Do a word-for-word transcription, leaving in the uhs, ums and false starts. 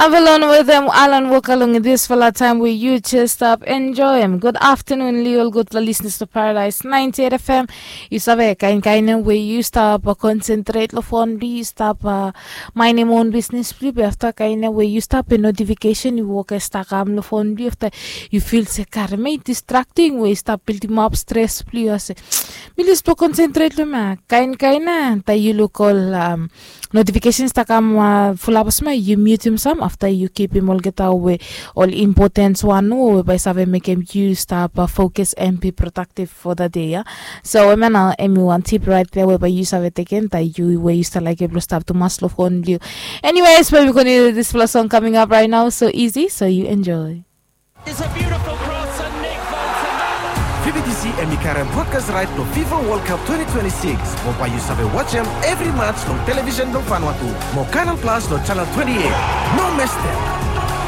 Avalon wetem Alan Walker long disfala taem we yu jes stap enjoem. Gud aftanun li ol gudfala lisnas long Paradise ninety eight F M. Yu save kaen kaen we yu stap konsentret long fon blong yu, stap mainem on bisnes blong yu, be afta kaen we yu stap, be notifikesen i wok e stap kam long fon blong yu, afta yu fil se karem i distrakting we i stap bildimap stres blong yu, ase mi lus blong konsentret long mi. Kaen kaen taem yu luk ol notifikesen i stap kam fulap olsem ya, yu miutim sam, afta yu kipim olgeta we ol impotens wan nomo we bae save mekem yu stap fokus and be prodaktiv fo da dei ya. So hemia nao hemi wan tip raet ya we bae yu save tekem taem yu we yu stap laekem blong stap tumas long fon blong yu. Anyways, bae wi kontinua disfala song coming up right now, so easy, so yu enjoy. V B T C hemi karem brodkas raet blong FIFA World Cup twenty twenty-six, mo bae yu save wajem evri mats long televisen blong Vanuatu mo Canal Plus long chanel twenty-eight. No mestem.